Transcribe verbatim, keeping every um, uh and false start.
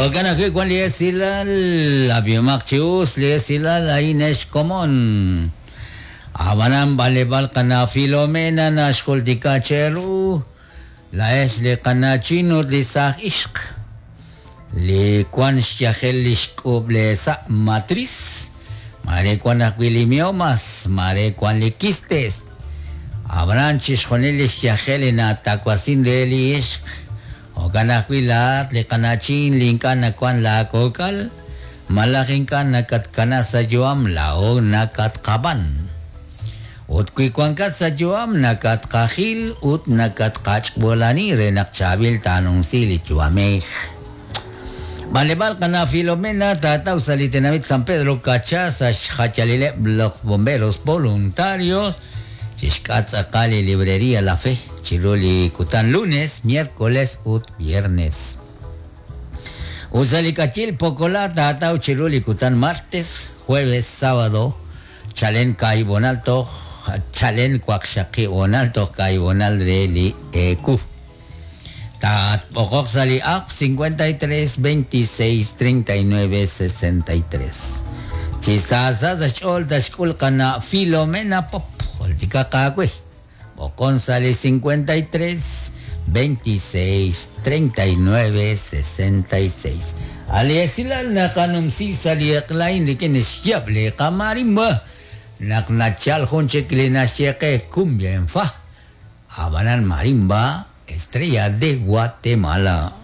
Jo'kan ajwi' wan li esilal ab'ihomaq chi us li esilal a'in ex komon. Ab'anan b'anleb'aal qana' Filomena naxjultika cheru laa'ex li qana'chin ut li saaj ixq li wan xyajel li xk'ub' le sa' matriz mare wan ajwi' li miomas mare wan li quistes ab'anan chixjunil li xyajel li natawasin re li ixq jo'kan ajwi' laa'at li qana'chin li ink'a' nawan laakok'al malaj ink'a' nakatkana sa' yu'am laa'o nakatqab'an ut wi wankat sa' yu'am nakatqajil ut nakatqach'b'olani re naq chaab'il taanumsi li yu'amej. B'anleb'aal qana' Filomena taataw sa' li tenamit San Pedro Kacha sa' xjayalileb' los bomberos voluntarios chixk'atq tz'aqal li librería La Fe chiru li kutan lunes, miércoles ut viernes. Ut sa' li k'ayil Pokola taataw chiru li kutan martes, jueves, sábado, chalen kaahib' toj chalen waqxaqib' honal toj kaahib' honal re li eeku. Taatb'oqoq sa' li app cincuenta y tres, veintiséis, treinta y nueve, sesenta y tres. Chi saasa sa' xch'ool taxk'ul qana' Filomena Pop jultikaq aawe. B'oqon sa' li cincuenta y tres, veintiséis, treinta y nueve, sesenta y seis. Ali esilal naqanumsi sa' li eq'lain rik'in xyab' li qamarimba naq nachal jun chik li naxye qe cumbia en fa. Ab'anan marimba Estrella de Guatemala.